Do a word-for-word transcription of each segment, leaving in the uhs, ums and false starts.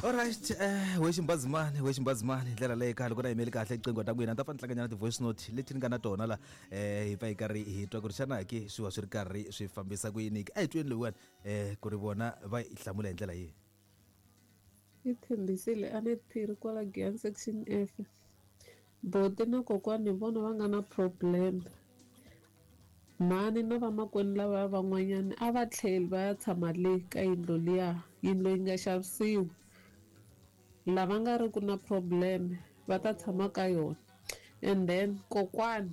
Alright, eh we ximbazimani, we ximbazimani ndlela leyi kahle ku na yimeli kahle iqingho ta n'wina ta fa ntlanganyana ti-voice note leti ni nga na tona la eh hi pfa hi karhi hi twa ku ri xana ke swi va swi ri karhi swi fambisa ku yini a hi tweni loyiwani eh ku ri vona va yi hlamula hi ndlela yihi. Yi tshembisile a ni phiri kwala Giyani section F. Boti na kokwani hi vona va nga na problem. Mhani na vamakwenu lava van'wanyana a va tlheli va ya tshama le ka yindlu liya, yindlu yi nga xavisiwi. Lava nga ri ku na problem va ta tshama ka yona. And then kokwani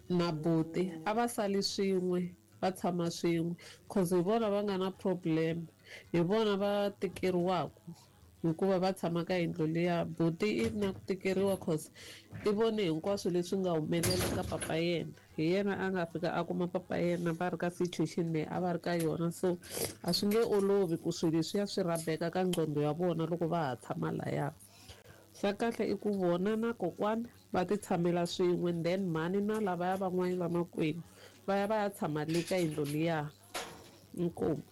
na boti a va sali swin'we, va tshama swin'we cause hi vona va nga na problem, hi vona va tikeriwaka hikuva va tshama ka yindlu liya. Buti i na ku tikeriwa cause i vone hinkwaswo leswi nga humelela ka papa yena, hi yena a nga fika a kuma papa yena va ri ka situation leyi a va ri ka yona. So a swi nge olovi ku swilo leswiya swi rhabeka ka nqondo ya vona loko va ha tshama laya. Xa kahle i ku vona na kokwani va ti tshamela swin'we, then mhani na lavaya van'wana vamakwenu va ya va ya tshama le ka yindlu liya. Inkomu.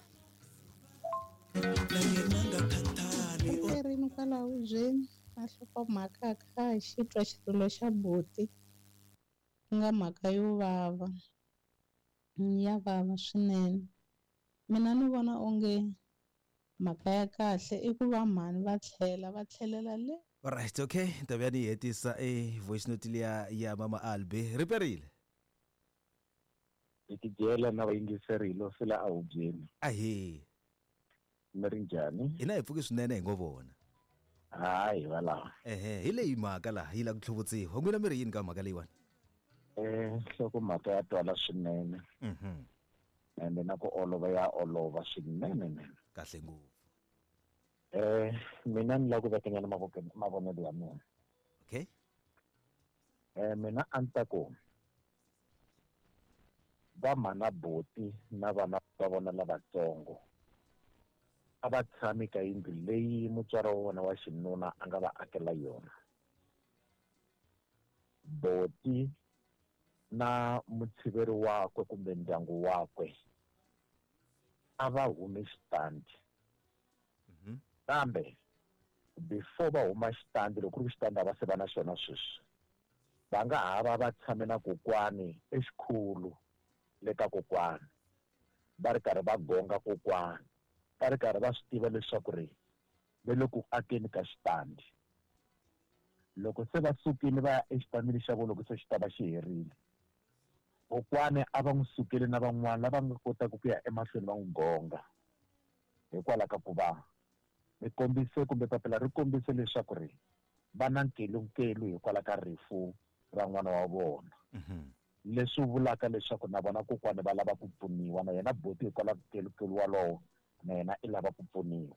Rini kwalaho hubyeni a nhlokomhaka a kha a xi twa xirilo xa buti ku nga mhaka yo vava, ya vava swinene. Mina ni vona onge mhaka ya kahle i ku va mhani va tlhela va tlhelela le. Alright, okay, ta vuya ni hetisa e voice note liya ya mama Albi riperile. Hi tidyela na vayingiseri hi lo sila a hubyeni. Ahee. Mi ri njhani? Hina hi pfuki swinene hi ngo vona. Hayi va laha. Ehe, hi leyi mhaka laha yi lava ku tlhuvutsiwa. N'wina mi ri yini ka mhaka leyiwani? Eh, nhloko mhaka ya twala swinene. Mhm. Ende na ku olova ya olova swinene nene. Kahle ngopfu. Eh, mina ni lava ku vekanyana mavoko mavonelo ya mina. Okay. Eh, mina a ni ta ku va mhana buti na vana va vona lavatsongo a va tshami ka yindlu leyi mutswari wa vona wa xinuna a nga va akela yona. Boti na mutshiveri wakwe kumbe ndyangu wakwe a va humi xitandi. Kambe before va huma xitandi, loko ku ri xitandi a va se va na xona sweswi, va nga ha va va tshame na kokwani exikhulu le ka kokwani, va ri karhi va gonga kokwani, va ri karhi va swi tiva leswaku ri ve le ku akeni ka xitandi. Loko se va sukile va ya exitandini xa vona, loko se xi ta va xi herile, kokwani a va n'wi sukele na van'wana lava nga kotaka ku ya emahlweni va n'wi gonga, hikwalaho ka ku va mi kombise kumbe papila ri kombise leswaku ri va na nkelunkelu hikwalaho ka rifu ra n'wana wa vona. Leswi vulaka leswaku na vona kokwani va lava ku pfuniwa, na yena buti hikwalaho ka nkelunkelu walowo na yena i lava ku pfuniwa.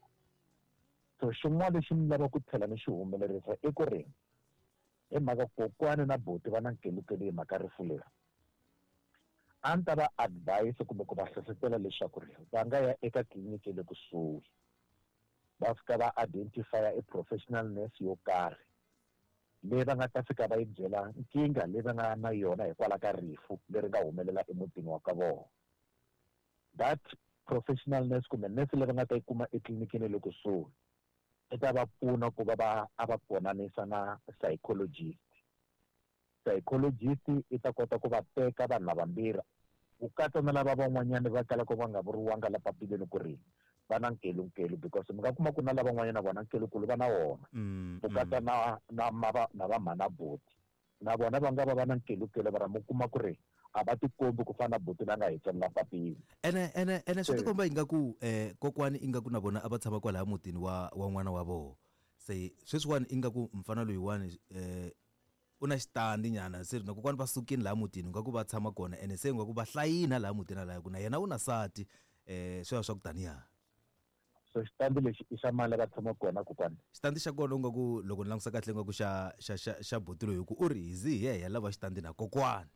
So xin'wana lexi ni lava ku tlhela ni xi humelerisa i ku ri hi mhaka kokwani na buti va na nkelunkelu hi mhaka rifu leri, a ni ta va advise kumbe ku va hlohlotela leswaku ri va nga ya eka tliliniki le kusuhi, va fika va identify a professional nurse yo karhi leyi va nga ta fika va yi byela nkingha leyi va nga na yona hikwalaho ka rifu leri nga humelela emutini wa ka vona. That professional nurse kumbe nurse leyi va nga ta yi kuma etliliniki le kusuhi i ta va pfuna ku va va a va konanisa na psychologist. Psychologist i ta kota ku va teka vanhu lavambirhi ku katsa na lava van'wanyana va kalaka va nga vuriwanga la papileni ku ri va na nkelunkelu, because mi nga kuma ku na lavan'wanyana vona nkelunkulu va na wona, ku katsa na na mava na va mhana buti na vona va nga va va na nkelunkelu, va ra mi kuma ku ri a va tikombi ku fana na buti la nga hi tsalela papila. Ene ene ene swi tikomba ingaku eh kokwani ingaku na vona a va tshama kwalaya mutini wa wa n'wana wa vona. Se sweswiwani ingaku mfana loyiwani eh u na xitandi nyana, se na kokwani va sukile laha mutini ingaku va tshama kona, ene se ingaku va hlayina laha mutini laha ku na yena u na sati eh swi ya swa ku taniya. So xitandi lexi i xa mali va tshama kona kokwani? Xitandi xa kona ingaku loko ni langusa kahle ingaku xa xa xa xa buti loyi, ku u ri hi zi hi yehe lava xitandi na kokwani.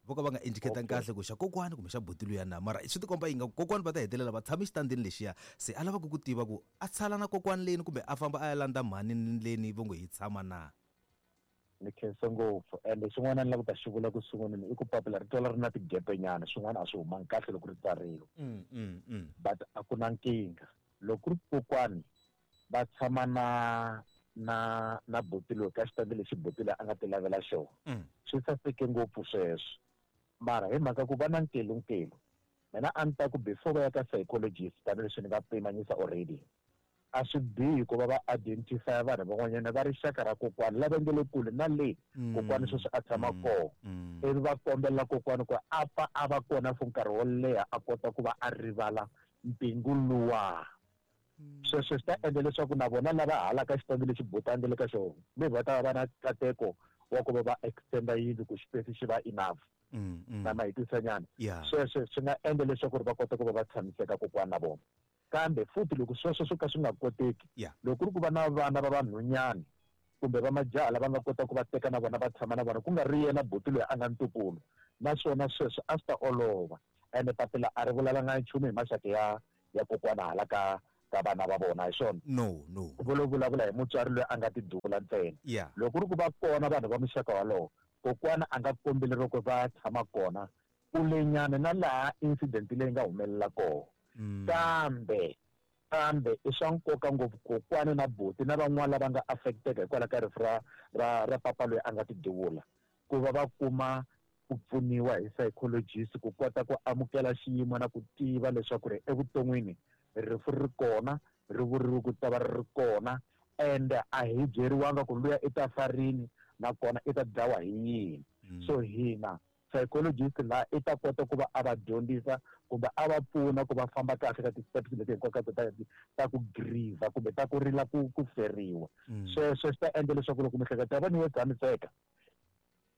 Vo ka va nga indicate kahle ku xa kokwani kumbe xa buti luya na, mara swi tikomba ingaku kokwani va ta hetelela va tshama xitandini lexiya. Se a lava ku ku tiva ku a tshala na kokwani leni kumbe a famba a ya landza mhani leni vo ngo hi tshama na. Ni khensa ngopfu. Ende xin'wana ni lava ku ta xi vula ku sunguleni i ku papila ri twala ri na tigepenyana, swin'wana a swi humangi kahle loko ri tsariwa. Mm, mm, mm. But a ku na nkingha. Loko ku ri kokwani Va tshama na na na buti loyi ka xitandi lexi buti loyi a nga ti lavela xona. Mm. Swi saseke ngopfu sweswo. Mara hi mhaka ku va na nkelunkelu, mina a ni ta ku before va ya ka psychologist tanihileswi ni nga pimanyisa already, a swi bihi ku va va identify vanhu van'wanyana va rixaka ra kokwani lava nge le kule na le Mm. kokwani sweswi a tshama Mm. kona. Mm. Ivi va kombela kokwani ku a pfa a va kona for nkarhi wo leha a kota ku va a rivala mpingu luwa. Sweswo swi ta endla leswaku na vona lava halaka xitandi lexi buti le ka xona maybe va ta va va na nkateko wa ku va va extenda yindlu ku xipesi xi va enough. Mm, mm. Na ma hi twisanyana. Yeah. Sweswo swi nga endla leswaku ri va kota ku va va tshamiseka kokwana na vona. Kambe futhi loko sweswo swo ka swi nga koteki, Yeah. loko ku ri ku va na vana va vanhwanyana kumbe va majaha lava nga kota ku va teka na vona va tshama na vona, ku nga ri yena buti loyi a nga ntukulu, naswona sweswo a swi ta olova. Ene papila a ri vulavulanga nchumu hi maxaka ya, ya kokwana hala ka, ka vana va vona, hi swona? No, no. Vo lo vulavula hi mutswari loyi a nga tidula ntsena. Yeah. Loko ku ri ku va kona vanhu va muxaka walowo, kokwana a nga kombeli loko va tshama kona kulenyana na laha incident leyi nga humelela kona. Mm. Kambe, kambe i swa nkoka ngopfu kokwana na buti na van'wana lava nga affecteka hikwalaho ka rifu ra, ra, ra papa loyi a nga tiduvula, ku va va kuma ku pfuniwa hi psychologist ku kota ku amukela xiyimo na ku tiva leswaku ri evuton'wini rifu ri kona, ri vuriwe ku ta va ri ri kona, and a hi byeriwanga ku luya i ta fa rini nakona i ta dlawa hi yini. Mm. So hina psychologist laha i ta kota ku va a va dyondzisa kumbe a va pfuna ku va famba kahle ka ti-steps leti hinkwato ta, ta ku grieve kumbe ta ku rila ku, ku feriwa. Mm. Sweswo swi ta endla leswaku loko miehleketo ya vona yo tshamiseka,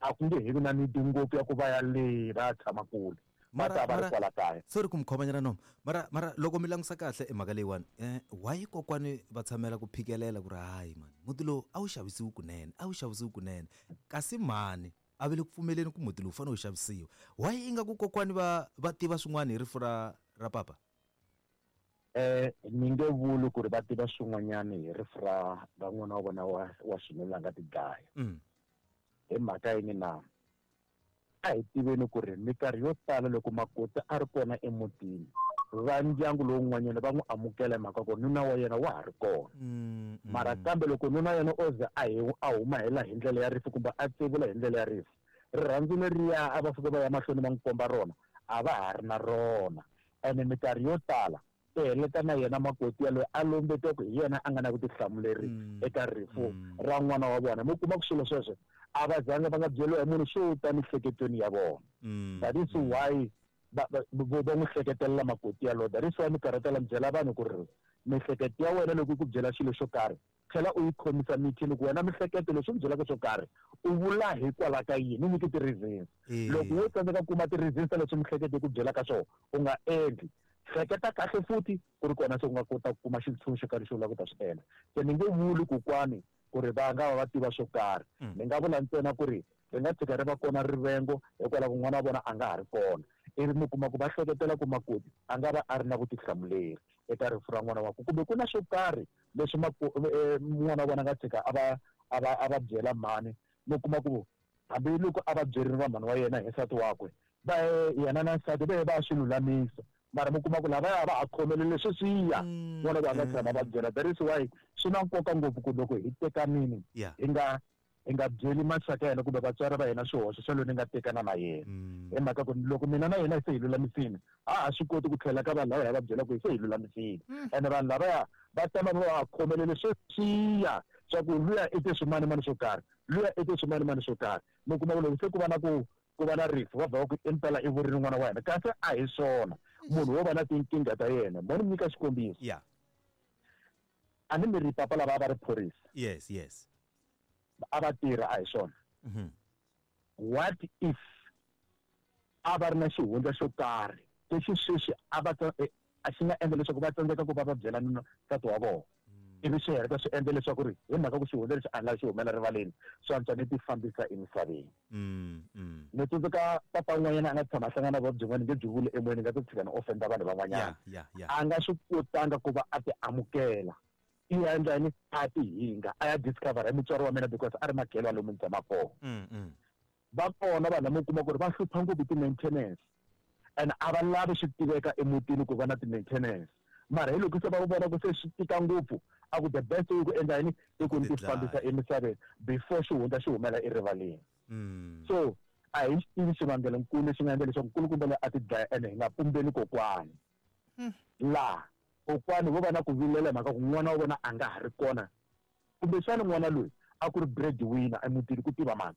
a ku nge he vi na need ngopfu ya ku va ya le va ya tshama kule. Va Mara, ta va ri mara, kwala kaya. Sorry ku mi khomanyana nomu. Mara, mara loko mi langusa kahle e mhaka leyiwani, eh, why kokwani va tshamela ku phikelela ku ri hayi mani, muti lowu a wu xavisiwi kunene, a wu xavisiwi kunene, kasi mhani a va le ku pfumeleni ku muti lowu fanele wu xavisiwa. Why ingaku kokwani va, va tiva swin'wana hi rifu ra, ra papa? Eh, ni nge vuli ku ri va tiva swin'wanyana hi rifu ra, ra n'wana wa vona wa, wa xinuna a nga tidlaya. Mm. Hi mhaka yini na? A hi tiveni ku ri minkarhi yo tala loko makoti a ri kona emutini, va ndyangu lowun'wanyana va n'wi amukela hi mhaka ku nuna wa yena wa ha ri kona. Mm, mm. Mara kambe loko nuna wa yena o ze a hi, a huma hi la hi ndlela ya rifu kumbe a tsevula hi ndlela ya rifu, rirhandzu leriya a va fika va ya mahlweni va n'wi komba rona, a va ha ri na rona. Ene minkarhi yo tala i heleta na yena makoti yaloye a lombetiwa ku hi yena a nga na vutihlamuleri Mm, eka rifu mm. ra n'wana wa vona. Mi kuma ku swilo sweswo a va zanga va nga byeriwa hi munhu swo ta miehleketweni ya vona. Mm, That is mm. why va, va, va, va n'wi hleketelela makoti yaloye. That is why minkarhi yo tala mi byela vanhu ku ri miehleketo ya wena loko yi ku byela xilo xo karhi, tlhela u yi khomisa mithini ku wena miehleketo leswi u byelaka swo karhi u vula hikwalaho ka yini, u nyike ti-reasons. Eh. Loko wo tsandzeka ku kuma ti-reasons ta leswi miehleketo yi ku byelaka swona, u nga endli. Hleketa kahle futhi ku ri kona se u nga kota ku kuma xintshunxo ka lexi u lavaka ku ta swi endla. Se ni nge vuli kokwani ku ri va nga va va tiva swo karhi. Mm. Ni nga vula ntsena ku ri ri nga tshika ri va kona rivengo hikwalaho n'wana wa vona a nga ha ri kona. Ivi mi kuma ku va hleketela ku makoti a nga va a ri na vutihlamuleri eka rifu ra n'wana wakwe, kumbe ku na swo karhi leswi mako-, eh, n'wana wa vona a nga tshika a va, a va, a va byela mhani. Mi kuma ku hambiloko a va byerile va mhani wa yena hi nsati wakwe, va yena na nsati va ye va ya swi lulamisa. Mara mi kuma ku lavaya va ha khomelele sweswiya, Mm, n'wana loyi a nga tshama va mm. byela. That is why swi na nkoka ngopfu ku loko hi tekanini, Yeah. hi nga, hi nga byeli maxaka ya hina kumbe vatswari va hina swihoxo swa loyi ni nga tekana na yena. Mm. Hi mhaka ku loko mina na yena se hi lulamisile, a ha swi koti ku tlhela ka vanhu lava hi va byela ku hi se hi lulamisile. Mm. Ene vanhu lavaya va tama va ha khomelele sweswiya swa ku luya i te swimanimani swo karhi, luya i te swimanimani swo karhi. Mi kuma ku loko se ku va na ku, ku va na rifu, va va ku impela i vurile n'wana wa hina, kasi a hi swona. Munhu wo va na tinkingha ta yena. Mo ni nyika xikombiso. Yeah. A ni mi ri papa lava a va ri phorisa. Yes, yes. A va tirha, a hi swona. Mm-hmm. What if a va ri na xihundla xo karhi lexi sweswi a va tsa-, eh, a xi nga endla leswaku va tsandzeka ku va va byela nuna nsati wa vona? Ivi swi heta swi endla leswaku ri hi mhaka ku xihundla lexi a ni lavi xi humela rivaleni, swi antswa ni ti fambisa emisaveni. Mm, mm. Ni tsundzuka papa un'wanyana a nga tshama a hlangana na vuvabyi byin'wana nge byi vuli emoyeni, nga ta tshika ni offenda vanhu van'wanyana. Yeah, yeah, yeah. A nga swi kotanga ku va a ti amukela. I ya endla yini? A ti hinga, a ya discover hi mutswari wa mina because a ri makhelwani lomu ni tshamaka kona. Mm, mm. Va kona vanhu lava mi kuma ku ri va hlupha ngopfu ti-maintenance, and a va lavi swi tiveka emutini ku va na ti-maintenance. Mara hi loko se va vona ku se swi tika ngopfu a ku the best way ku endla yini i ku ti fambisa emisaveni before xihundla xi humela erivaleni. So a hi xi tivi xivangelonkulu lexi nga endla leswaku nkulukumba loyi a ti dlaya ene hi nga pumbeni kokwani. Laha kokwani vo va na ku vilela hi mhaka ku n'wana wa vona a nga ha ri kona, kumbexana n'wana loyi a ku ri breadwinner emutini ku tiva mani.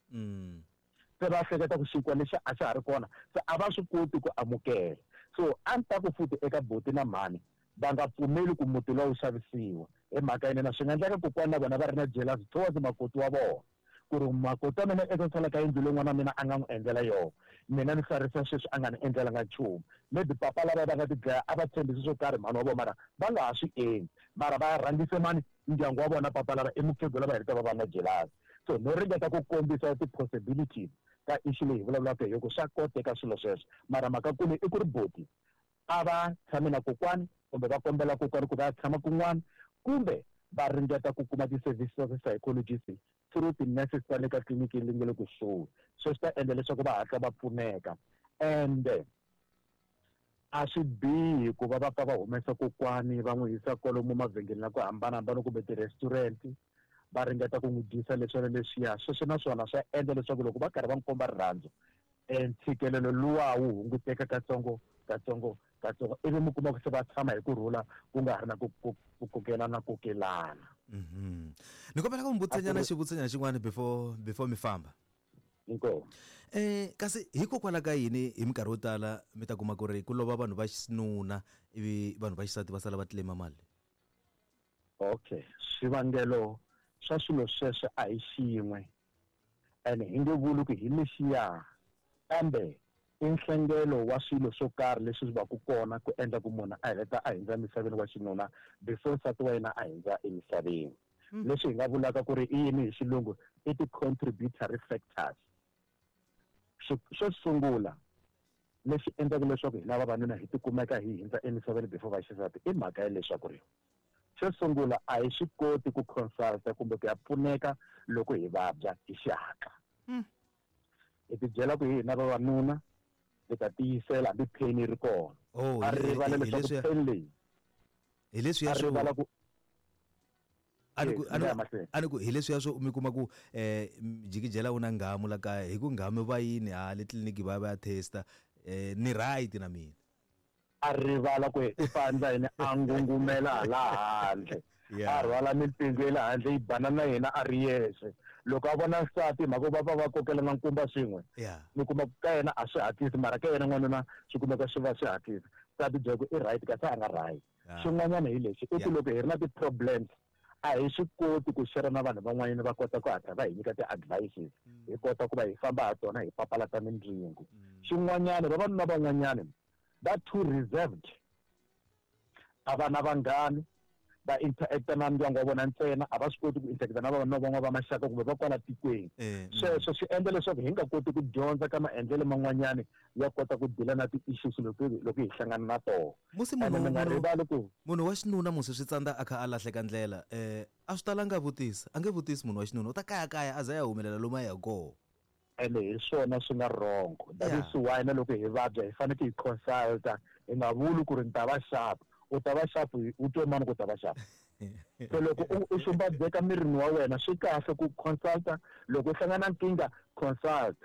Se va hleketa ku xinkwa lexi a xa ha ri kona, se a va swi koti ku amukela. So a ni ta ku futhi eka boti na mhani va nga pfumeli ku muti lowu xavisiwa hi mhaka yini na swi nga endleka kokwani na vona va ri na jealous towards makoti wa vona, ku ri makoti wa mina eka sala ka yindlu leyi n'wana wa mina a nga n'wi endlela yona, mina ni hlarisa sweswi a nga ni endlelanga nchumu. Maybe papa lava va nga ti dlaya a va tshembisi swo karhi mhani wa vona, mara va nga ha swi endli, mara va rhangise mani ndyangu wa vona papa lava i mukhegula va heleta va va na jealous. So no ringeta ku kombisa ti-possibilities ka issue leyi hi vulavulaka hi yona ku swa koteka swilo sweswo, mara mhaka kulu i ku ri boti a va tshame na kokwani kumbe va kombela kokwani ku va ya tshama kun'wana, kumbe va ringeta ku kuma ti-services ta ti-psychologist through ti-nurses ta le ka tliliniki leyi nga le kusuhi. Sweswo swi ta endla leswaku va hatla va pfuneka. Ende a swi bihi ku va va pfa va humesa kokwani va n'wi yisa kwalomu mavhengeleni la ku hambanahambana kumbe ti-restaurant va ringeta ku n'wi dyisa leswiya na leswiya. Sweswo naswona swa endla leswaku loko va karhi va n'wi komba rirhandzu, ntshikelelo luwa wu hunguteka katsongo katsongo katsongo, ivi mi kuma ku se va tshama hi kurhula ku nga ha ri na ku ku kokelana kokelana. Ni kombela ku mi vutisanyana xivutisanyana xin'wana before before mi famba. Inkomu. Eh kasi hikokwalaho ka yini hi minkarhi yo tala mi ta kuma ku ri ku lova vanhu va xinuna ivi vanhu va xisati va sala va claim mali? Okay, swivangelo swa swilo sweswo a hi xin'we ene hi nge vuli ku hi lexiya, kambe i nhlengelo wa swilo swo karhi leswi swi va ku kona ku endla ku munhu a heleta a hindza emisaveni wa xinuna before nsati wa yena a hindza emisaveni. Leswi hi nga vulaka ku ri i yini hi xilungu i ti-contributory factors. Xo sungula lexi endlaka leswaku hina vavanuna hi tikumeka hi hindza emisaveni before va xisati i mhaka ya leswaku ri xo sungula a hi swi koti ku consulta kumbe ku ya pfuneka loko hi vabya hi xihatla. Hi ti byela ku hi hina vavanuna hi ta tiyisela hambi pain yi ri kona. A rivala leswaku pain leyi hi leswiya swo a ni ku hi leswiya swo mi kuma ku um jikijela wu na nghamu la kaya hi ku nghamu va yini ha le tliliniki va ya va ya testa um ni right na mina. A rivala ku i fandla yini a ngungumela hala handle, a rhwala mipingu ya le handle yi bana na yena a ri yexe. Loko a vona nsati mhaka va va va kokelana nkumba swin'we, mi kuma ka yena a swi hatlisi, mara ka yena n'wanuna swi kumeka swi va swi hatlisa. Nsati byela ku i right kasi a nga right. Xin'wanyana hi lexi i ku loko hi ri na ti-problems a hi swi koti ku share na vanhu van'wanyana va kota ku hatla va hi nyika ti-advices, hi kota ku va hi famba ha tona hi papalata mindzingo. Xin'wanyana vavanuna van'wanyana va too reserved, a va na vanghani, va interacta na ndyangu wa vona ntsena, a va swi koti ku interacta na vavanuna van'wana va maxaka kumbe va kwala tikweni. Sweswo swi endla leswaku hi nga koti ku dyondza ka maendlelo man'wanyana ya kota ku dila na ti-issues loko loko hi hlangana na tona. Musi munhu munhu ku munhu wa xinuna musi swi tsandza a kha a lahleka ndlela, um a swi talanga vutisa, a nge vutisi munhu wa xinuna u ta kayakaya a za ya humelela lomu a ya kona. Ene hi swona swi nga wrong. That is why na loko hi vabya hi fanekele hi consulta, hi nga vuli ku ri ni ta va sharp. U ta va sharp u twe mani ku ta va sharp. So loko u xumbadzeka mirini wa wena swi kahle ku consulta, loko u hlangana na nkingha consult.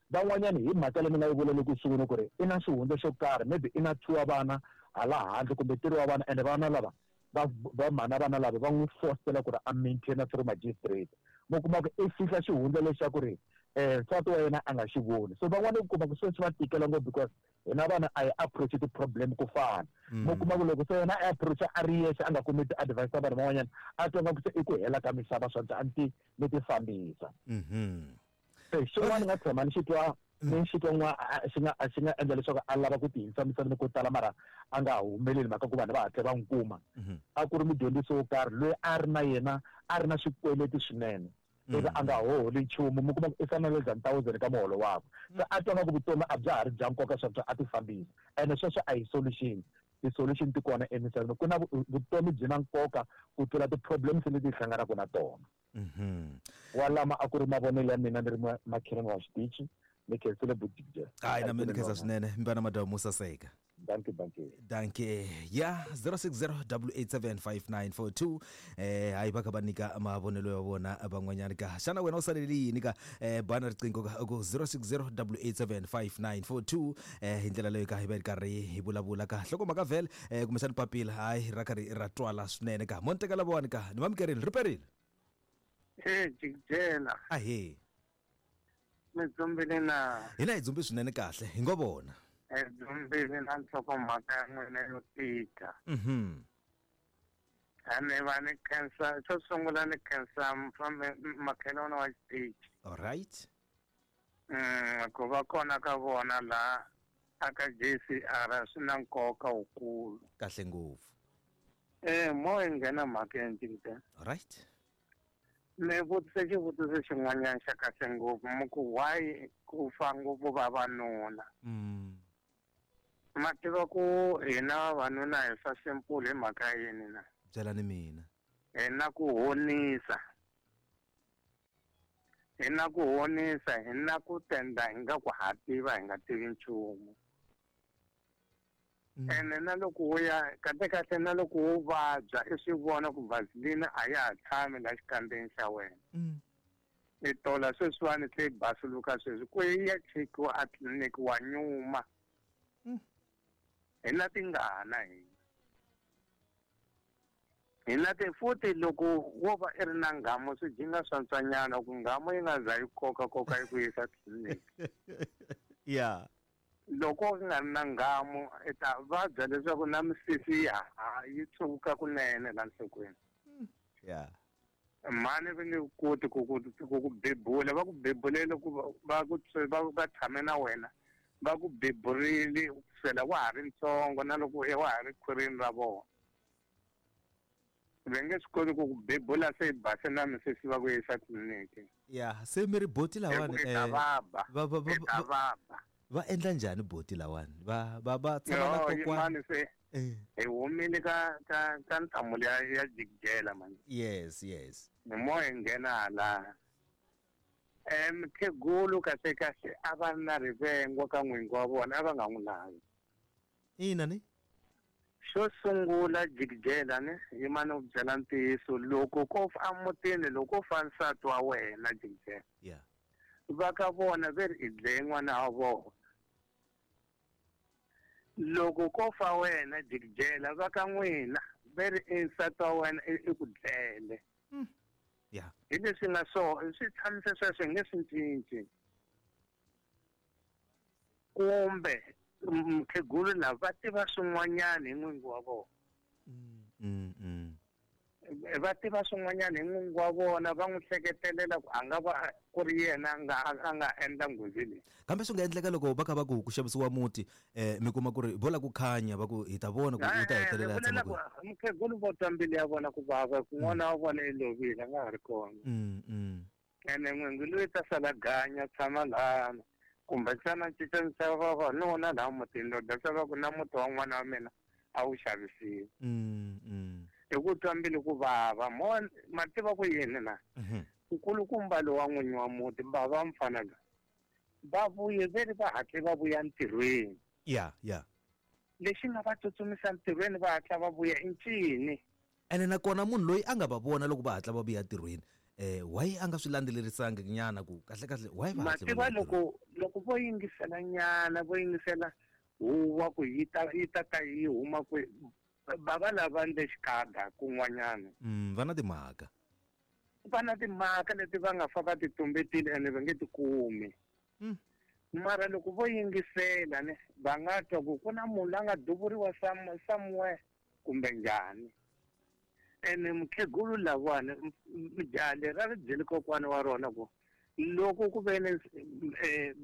Van'wanyana hi mhaka leyi ni nga yi vula loko sungula ku ri i na xihundla xo karhi, maybe i na two wa vana hala handle kumbe three wa vana, ene vana lava va va mhana vana lava va n'wi fostela ku ri a maintaina through magistrate. Mi kuma ku i fihla xihundla lexaku ri um nsati wa yena a nga xi voni. So van'wana u kuma ku sweswi va tikela ngopfu because hina vana a hi approach ti-problem ku fana. Mi kuma ku loko se yena a approach a ri yexe a nga kumi ti-advice ta vanhu van'wanyana, a twa nga ku se i ku hela ka misava swa a ni ti ni ti fambisa. Se xin'wana ni nga tshama ni xi twa ni xi twa n'wa xi nga xi nga endla leswaku a lava ku ti hindza misaveni ko tala mara a nga humeleli mhaka ku vanhu va hatla va n'wi kuma. A ku ri mudyondzisi wo karhi loyi a ri na yena a ri na swikweleti swinene, ivi a nga hoholi nchumu, mi kuma ku i fana less than thousand ka muholo wakwe. Se a twa nga ku vutomi a bya ha ri bya nkoka sweswo a ti fambisa. Ene sweswo a hi solution. Ti-solution ti kona emisaveni. Ku na vutomi byi na nkoka ku tlula ti-problems leti hi hlanganaka na tona. Walama a ku ri mavonelo ya mina ni ri makhelwani wa xitichi. Ni khensile bujija. Hayi na mina ni khensa swinene mi va na madyambu mo saseka. Dankie, dankie. Dankie. Ya zero six zero eight eight seven five nine four two. Eh hayi va kha va nyika mavonelo ya vona van'wanyana ka. Xana wena u salele yini ka eh bana riqingho ka ku zero six zero eight eight seven five nine four two eh hi ndlela leyi ka hi va ri karhi hi vulavula ka hlokomhaka vhele eh kumbexana papila hayi ra karhi ra twala swinene ka. Mo ni teka lavawani ka ni mamukerile ri perile. Eh jikjela. Ahee. Mi dzumbile na. Hina hi dzumbi swinene kahle hi ngo vona. Hi dzumbile na nhlokomhaka ya n'wina yo tika. Mhm. A ni va ni khensa xo sungula ni khensa makhelwani wa xitichi. All right. Mm, ku va kona ka vona laha aka J C R swi na nkoka wukulu. Kahle ngopfu. Eh mo hi nghena mhakeni jikjela. All right. Mi vutise xivutiso xin'wanyana xa kahle ngopfu mi ku why ku fa ngopfu vavanuna. Mm. Ma tiva ku hina vavanuna hi fa simple hi mhaka yini na? Byelani mina. Hi na ku honisa. Hi na ku honisa, hi na ku tenda hi nga ku ha tiva hi nga tivi nchumu. Mm. Ene na loko wo ya kahle kahle na loko wo vabya i swi vona ku vaseline a ya ha tshami la xikandzeni xa wena. Mm. I tola sweswiwani se yi basuluka sweswi ku yi ya chekiwa a tliliniki wa nyuma. Mm. Hi na tingana hina. Hi na ti futhi loko wo va i ri na nghamu swi jinga swantswanyana ku nghamu yi nga za yi koka koka yi ku yisa tliliniki. Yeah. Loko u nga ri na nghamu i ta vabya leswaku na misisi ya ha yi tshuka kunene la nhlokweni. Yeah. Mhani va nge koti ku ku ku ku bebula va ku bebulele ku va ku va va tshame na wena va ku beburile kusukela wa ha ri ntsongo na loko wa ha ri khwirini ra vona. Va nge swi koti ku ku bebula se yi base na misisi va ku yisa tliliniki. Yeah, se mi ri boti lawani eh va va va va va endla njhani boti lawani va va va tshama na kokwani se hi humile ka ka ka nhlamulo ya ya jikjela mani. Yes, yes. Ni mo hi nghena hala. Eh mukhegulu kahle kahle a va ri na rivengo ka n'wingi wa vona a va nga n'wi lavi. Ina ni? Xo sungula jikjela ni yimani u byela ntiyiso loko ko fa emutini loko fa nsati wa wena jikjela. Yeah. Va ka vona ve ri i dlaye n'wana wa vona. Loko ko fa wena jikjela va ka n'wina ve ri i nsati wa wena i ku dlele. Yeah. Hi leswi nga so swi tshamise sweswo hi nge swi cinci. Kumbe mukhegulu lava va tiva swin'wanyana hi n'wingi wa vona. Mm, mm. Va tiva swin'wanyana hi n'wingi wa vona va n'wi hleketelela ku a nga va ku ri yena a nga a nga endla nghozi leyi. Kambe swi nga endleka loko va kha va ku ku xavisiwa muti eh mi kuma ku ri vo la ku khanya va ku hi ta vona ku u ta hetelela a tshama kwihi. Mukhegulu vo twa mbilu ya vona ku vava ku n'wana wa vona i lovile a nga ha ri kona. Mm, mm. Ene n'wingi loyi ta sala ganya tshama lana kumbexana cincanisa vavanuna laha mutini lowu dya va ku na muti wa n'wana wa mina a wu xavisiwi. Mm, mm. Hi ku twa mbilu ku vava mo ma tiva ku yini na nkulukumba lowa n'winyi wa muti bava mfana loyi va vuye ve ri va hatle va vuya ntirhweni. Yeah, yeah. Lexi nga va tsutsumisa ntirhweni va hatla va vuya i ncini. Ene nakona munhu loyi a nga va vona loko va hatla va vuya ntirhweni eh why a nga swi landzelerisanga nyana ku kahle kahle why va hatle va loko loko vo yingisela nyana vo yingisela huwa ku yi ta yi ta ta yi huma ku bava lava ndle xikada kun'wanyana. Mm, va na timhaka. Va na timhaka leti va nga fa va ti tumbetile ene va nge ti kumi. Mm. Mara loko vo yingisela ne va nga twa ku ku na munhu la nga duvuriwa somewhere kumbe njhani. Ene mukhegulu lavawani jaha leri a ri byeli kokwana wa rona ku loko ku ve ni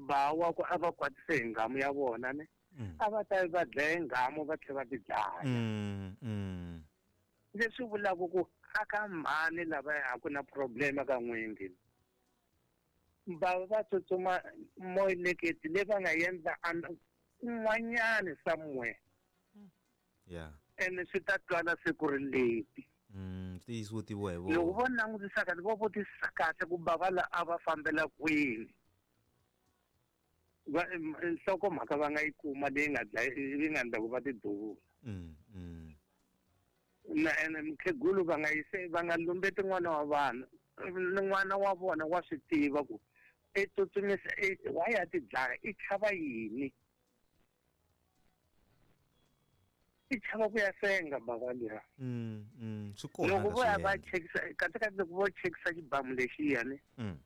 ba wa ku a va kwatise hi nghamu ya vona ne a va ta va dlaya nghamu va tlhela va ti dlaya. Leswi vulaka ku aka mhani lavaya a ku na problem ka n'wingi. Va va tsutsuma moyileketi leyi va nga endla kun'wanyani somewhere. Yeah. Ene swi ta twala siku ri leti. Mm, swi tiviwa hi vona. Loko vo langutisa kahle vo vutisa kahle ku bava la a va fambela kwini. Va nhlokomhaka va nga yi kuma leyi nga dlaya yi nga endla ku va tiduvula. Mm, mm. Na ene mukhegulu va nga yise va nga lumbeti n'wana wa vanhu. N'wana wa vona wa swi tiva ku i tsutsumisa wa ya ti dlaya i chava yini? I chava ku ya senga bava liya. Mm, mm. Swi kona Loko vo ya va swi endla. chekisa kahle kahle loko vo chekisa xibamu lexiyani Mm.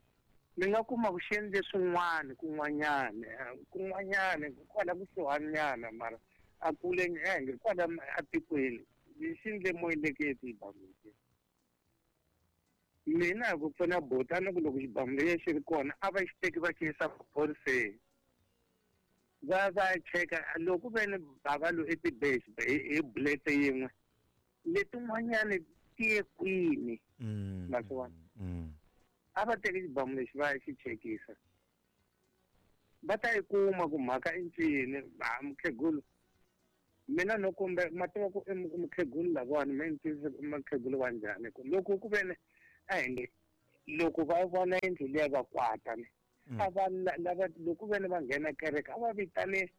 mi nga kuma ku xi endle swin'wana kun'wanyana kun'wanyana kwala kusuhanyana mara a kule enge kwala atikweni xi endle moyileketi xibamu lexi. Mina hi ku pfuna buti a ni ku loko xibamu lexi xi ri kona a va xi teki va xi yisa maphoriseni va va cheka loko ve ni bava loyi i ti hi bullet yin'we letin'wanyani ti ye kwini Mm. Ma swi vona? Mm. A va teki xibamu lexi va ya xi chekisa va ta yi kuma ku mhaka i ncini ha mukhegulu mina no kumbe ma tiva ku i mukhegulu lavawani me ni twisisa ku i mukhegulu wa njhani ku loko ku ve ni a hi nge loko va vona yindlu liya va kwata ni Mm. a va lava loko ve ni va nghena kereke a va vitane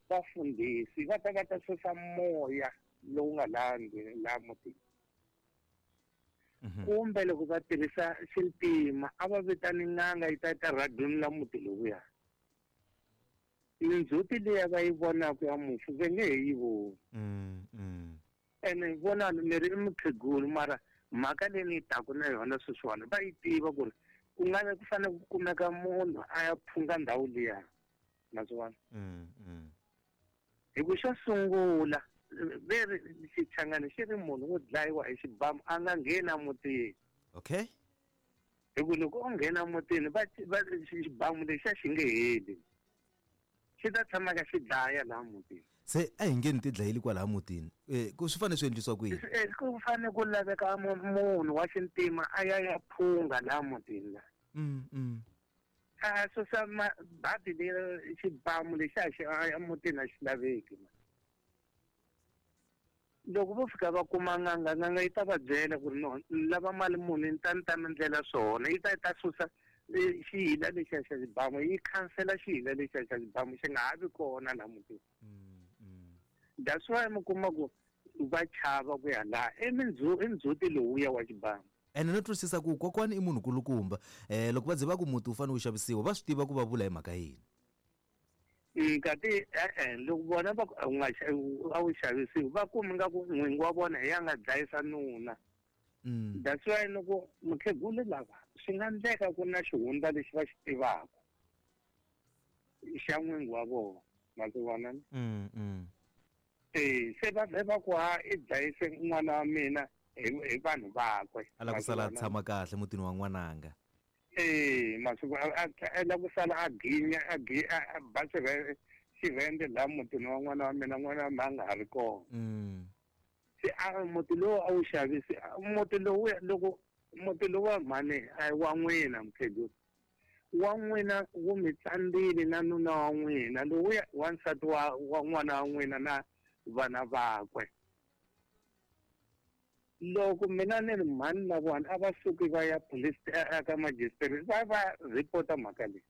vafundhisi va ta va ta susa moya lowu nga laha ndlwini laha mutini. Mhm. Kumbe loko va tirhisa xintima a va vitani n'anga yi ta ta radunula muti lowuya. Mindzhuti liya va yi vonaka ya mufi va nge he yi voni. Mm, mm. Ene vonani mi ri i mukhegulu mara mhaka leyi ni yi taka na yona sweswiwani va yi tiva ku ri ku nga ku fanele ku kumeka munhu a ya phunga ndhawu liya ma swi vona. Mm, mm. Hi ku xo sungula ve ri xichangani xi ri munhu wo dlayiwa hi xibamu a nga ngheni emutini. Okay. Hi ku loko o nghena emutini va va xibamu lexiya xi nge heli. Xi ta tshama ka xi dlaya laha mutini. Se a hi nge ni ti dlayeli kwalaha mutini. Eh ku swi fanele swi endlisiwa ku yini? Eh, ku fanele ku laveka munhu wa xintima a ya ya phunga laha mutini la. Mm, mm. A susa badi leri xibamu lexiya xi emutini a xi laveki. Loko vo fika va kuma n'anga n'anga yi ta va byela ku ri no ni lava mali muni ni ta ni ta mi ndlela swona yi ta yi ta susa xihila lexiya xa xibamu yi khansela xihila lexiya xa xibamu xi nga ha vi kona laha mutini. That's why mi kuma ku va chava ku ya laha i i ndzhuti lowuya wa xibamu. Ene no twisisa ku kokwani i munhu kulukumba eh loko va ze va ku muti wu fanele wu xavisiwa va swi tiva ku va vula hi mhaka yini. Kati e-e loko vona va ku a wu nga a wu xavisiwi va kumi nga ku n'wingi wa vona hi ya nga dlayisa nuna. Mm. That's why loko mukhegulu lava swi nga endleka ku na xihundla lexi va xi tivaka xa n'wingi wa vona ma swi vona ni? Mm, mm. Eh se va vhe va ku ha i dlayise n'wana wa mina hi hi vanhu vakwe. A lava ku sala a tshama kahle mutini wa n'wananga. Eh masiku a lava ku sala a ginya a a ba xirhende laha mutini wa n'wana wa mina n'wana wa mina a nga ha ri kona. Mm. Se a muti lowu a wu xavisi muti lowu loko muti lowu wa mhani a wa n'wina mukhegulu wa n'wina wu mi tsandzile na nuna wa n'wina lowuya wansati wa wa n'wana wa n'wina na vana vakwe. Loko mina ni ri mhani na vona a va suki va ya police eka magistrate va va report-a mhaka leyi.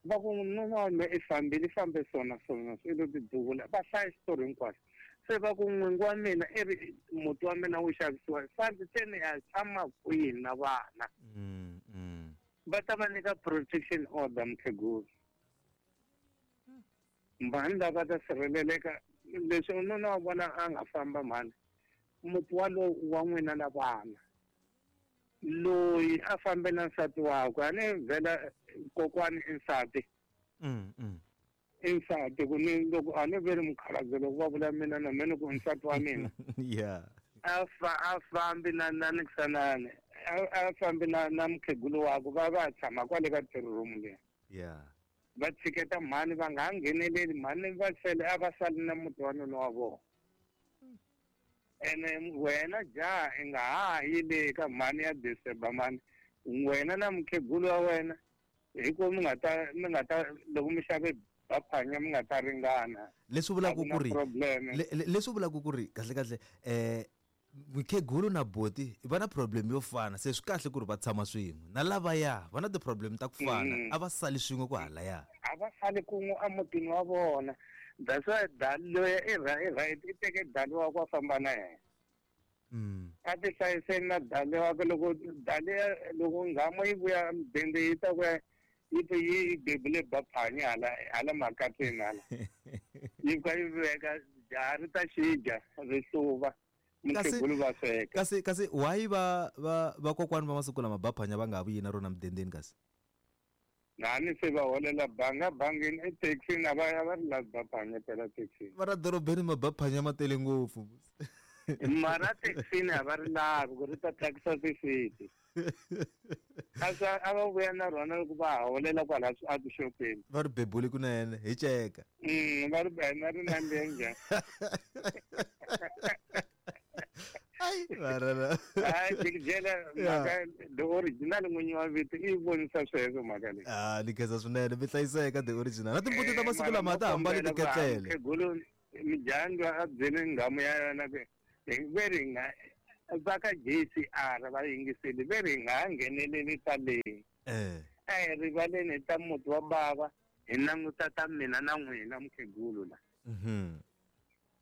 Va ku nuna wa mina i fambile i fambe sona sona i lo tiduvula va hlaya xitori hinkwaxo. Se va ku n'wingi wa mina i ri muti wa mina wu xavisiwa fambi se ni ya tshama kwihi na vana. Mm, mm. Va ta va nyika protection order mukhegulu. Mhani lava ta sirheleleka leswi nuna wa vona a nga famba mhani muti walowu wa n'wina na vana loyi a fambe na nsati wakwe a ni vhela kokwani i nsati. Mm, mm. I nsati ku ni loko a ni ve ri mukhalabye loko va vula mina na mina ku nsati wa mina. Yeah. A fa a fambi na na nikisanani a a fambi na na mukhegulu wakwe va va tshama kwale ka three room liya. Yeah. Va tshiketa mhani va nga ha ngheneleli mhani va sele a va sali na muti wa nuna wa vona. Ene wena jaha i nga ha yi le ka mhani ya disturb mhani wena na mukhegulu wa wena hi ku mi nga ta mi nga ta loko mi xave baphanya mi nga ta ringana. Leswi vulaka ku ri leswi vulaka ku ri kahle kahle eh mukhegulu na boti va na problem yo fana se swi kahle ku ri va tshama swin'we na lavaya va na ti-problem ta ku fana a va sali swin'we ku halaya. A va sali kun'we emutini wa vona. That's why dali loyi i right i teke dali wakwe a famba na yena. A ti hlayiseni na dali wakwe loko dali loko nghamu yi vuya mudende yi ta ku yi ti yi bebule baphanya hala hala makateni hala. Yi fika yi veka jaha ri ta xidya ri hluva mukhegulu va sweka. Kasi kasi why va va vakokwani va masiku lama baphanya va nga ha vuyi na rona mudendeni kasi? Nani se va holela banga bangini ethekisini a va a va ri lavi baphanya phela thekisini. Va ra dorobeni mabaphanya ma tele ngopfu. Mara thekisini a va ri lavi ku ri ta thyakisa tisiti. Kasi a va vuya na rona loko va ha holela kwala a tixopeni. Va ri bebule kunene hi ceka. Va ri na ri nandziha njhani. Ai varana. Ai jikijela mhaka the original n'winyi wa vito i vonisa sweswo mhaka leyi. Ah ni khensa swinene mi hlayiseka the original. Na timbuti ta masiku lama ta hambani tiketlele. Mukhegulu mijanga a byele nghamu ya yona ku ve ri nga va ka J C R va yingiseli ve ri nga ngheneleli ta leyi. Eh. A hi rivaleni ta muti wa bava hi languta ta mina na n'wina mukhegulu la. Mhm.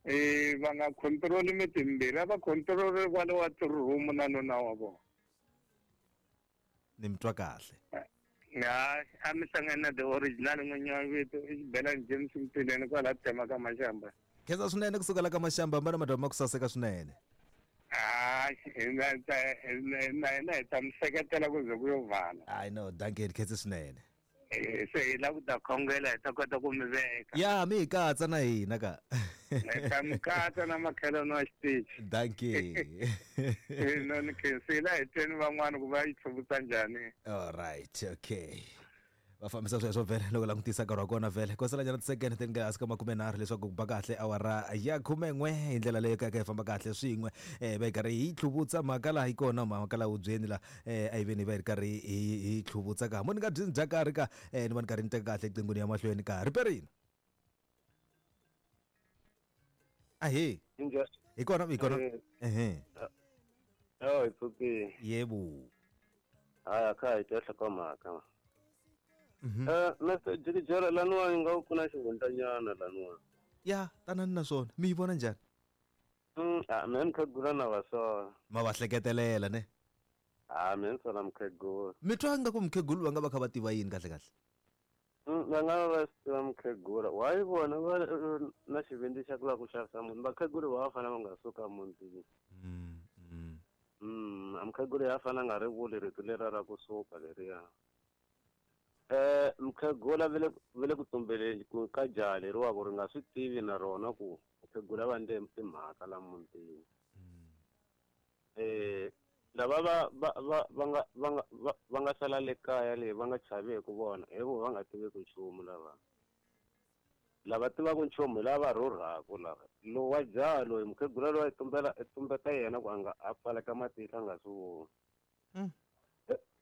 Eh va nga control miti mimbirhi a va control kwale wa room na nuna wa vona. Ni mi twa kahle. Ya a mi hlangana na the original n'winyi wa vito i Xibelani James Mtileni kwala tema ka Mashamba. Khensa swinene kusuka la ka Mashamba mbana madama ku saseka swinene. Hayi na na hi ta mi seketela ku ze ku yo vala. I know dankie khensa swinene. Eh se hi lava ku ta khongela hi ta kota ku mi veka. Ya mi hi katsa na hina ka. Hi ta mi katsa na makhelwani wa xitichi. Dankie. Eh no ni khensile hi tweni van'wana ku va yi tlhuvutsa njhani. All right, okay. Va fambisa sweswo vhele loko langutisa nkarhi wa kona vhele ko sala nyana tisekende ti nga hansi ka makumenharhu leswaku ku ba kahle awara ya khumen'we hi ndlela leyo ka ka hi famba kahle swin'we um va hi karhi hi tlhuvutsa mhaka laha yi kona mhaka laha hubyeni la um a yi veni va hi ri karhi hi hi tlhuvutsa ka mo ni nga byi ni dya karhi ka um ni va ni karhi ni teka kahle eqinghweni ya mahlweni ka riperini ahe hi kona hi kona ehe oh it's okay yebo haya kha hi twa hloko mhaka. Eh Mister Jikijela laniwa nga ku na xihundlanyana laniwa. Ya tanani na swona mi yi vona njhani? Mm a mina mukhegula na va swona. Ma va hleketelela ne? A mina ni sola mukhegula. Mi twa nga ku mukhegulu va nga va kha va tiva yini kahle kahle? Mm va nga va swi tiva mukhegula. Why vona va na xivindzi xa ku lava ku xavisa munhu vakhegula va fanele va nga suka mutini. Mm mm. Mm a mukhegula ya fanele a nga ri vuli rito leriya ra kusuka leriya. Eh mukhegula vele vele ku tumbeleni ku ka jaha leriwa ku ri nga swi tivi na rona ku mukhegula va ndle timhaka la mutini. Eh lava va va va va nga va nga va nga sala le kaya leyi va nga chavi ku vona hi vo va nga tivi ku nchumu lava. Lava tivaka nchumu hi lava rhurhaka lava. Lowa jaha loyi mukhegula loyi a tumbela a tumbeta yena ku a nga a pfaleka matihlo a nga swi voni.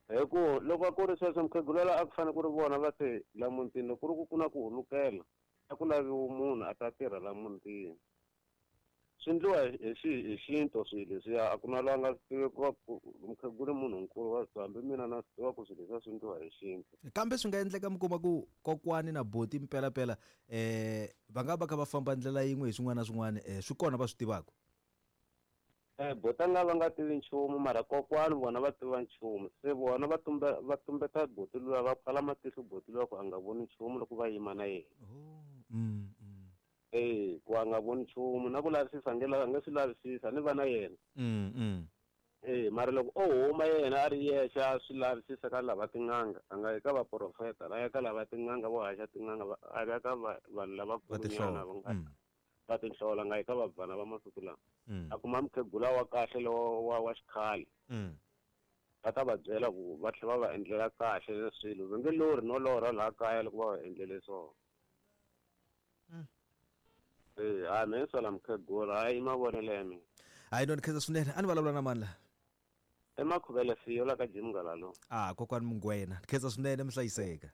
Hi ku loko ku ri sweswo mukhegula la a ku fanele ku ri vona va te la mutini loko ku ri ku ku na ku hulukela a ku laviwi munhu a ta tirha la mutini. Swi endliwa hi hi xintu swilo leswiya a ku na loyi a nga swi tivi ku va mukhegula munhu nkulu wa swi hambi mina na swi tiva ku swilo leswiya swi endliwa hi xintu. Kambe swi nga endleka mi kuma ku kokwani na boti mpelapela um va nga va kha va famba ndlela yin'we hi swin'wana na swin'wana um swi kona va swi tivaka. Eh bota nga va nga tivi nchumu mara kokwani vona va tiva nchumu se vona va tumbe va tumbeta boti luya va pfala matihlo boti luya ku a nga voni nchumu loko va yima na yena. Mm, mm. Eh ku a nga voni nchumu na ku lavisisa nge la nge swi lavisisa ni va na yena. Mm, mm. Eh mara loko o huma yena a ri yexe a swi lavisisa ka lava tin'anga a nga yi ka vaprofeta a ya ka lava tin'anga vo haxa tin'anga a ya ka vanhu lavakulunyana va nga va tinhlola nga yi ka vabvana va masiku lama. A kuma mukhegula wa kahle lowa wa wa xikhale. Va ta va byela ku va tlhela va va endlela kahle swilo va nge lorhi no lorha laha kaya loko va va endlele swona. Eh hayi mina ni sola mukhegula hayi i mavonelo ya mina. Hayi no ni khensa swinene a ni vulavula na mani la? I Makhuvele Fiyo la ka Jim Ngalalo. Ah kokwani Mungwena ni khensa swinene mi hlayiseka.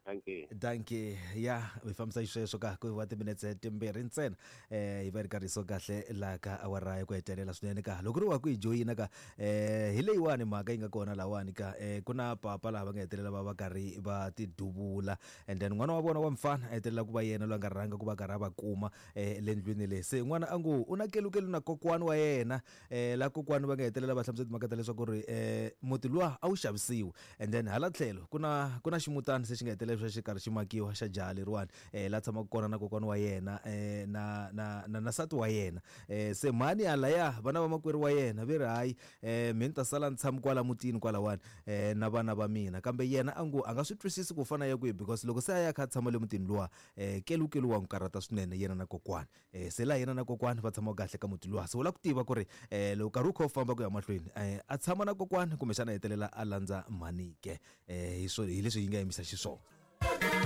Dankie. Dankie. Ya hi fambisa xisweswo ka ku va timinetse timbirhi ntsena eh hi va ri karhi so kahle laha ka awara ya ku hetelela swinene ka loko ri wa ku hi joyina ka eh hi leyiwani mhaka yi nga kona lahawani ka eh ku na papa laha va nga hetelela va va karhi va tiduvula, and then n'wana wa vona wa mfana a hetelela ku va yena loyi a nga rhanga ku va karhi a va kuma eh le ndlwini leyi. Se n'wana a ngo u na kelukelu na kokwani wa yena eh la kokwani va nga hetelela va hlamusela timhaka ta leswaku ri eh muti luwa a wu xavisiwi, and then hala tlhelo ku na ku na ximutana se xi nga hetelela xa xi karhi xi makiwa xa jaha leriwani eh la tshamaka kona na kokwana wa yena eh na na na na nsati wa yena. eh se mhani halaya vana va makwerhu wa yena ve ri hayi eh mina ni ta sala ni tshama kwala mutini kwalawani eh na vana va mina, kambe yena a ngo a nga swi twisisi ku fana ya kwihi, because loko se a ya kha a tshama le mutini luwa eh kelukelu wa n'wi karhata swinene yena na kokwani. eh se laha yena na kokwani va tshama kahle ka muti luwa, se u lava ku tiva ku ri eh loko nkarhi wu kha wu famba ku ya mahlweni eh a tshama na kokwani kumbexana a hetelela a landza mhani ke eh hi swo hi leswi yi nga yimisa xiswona.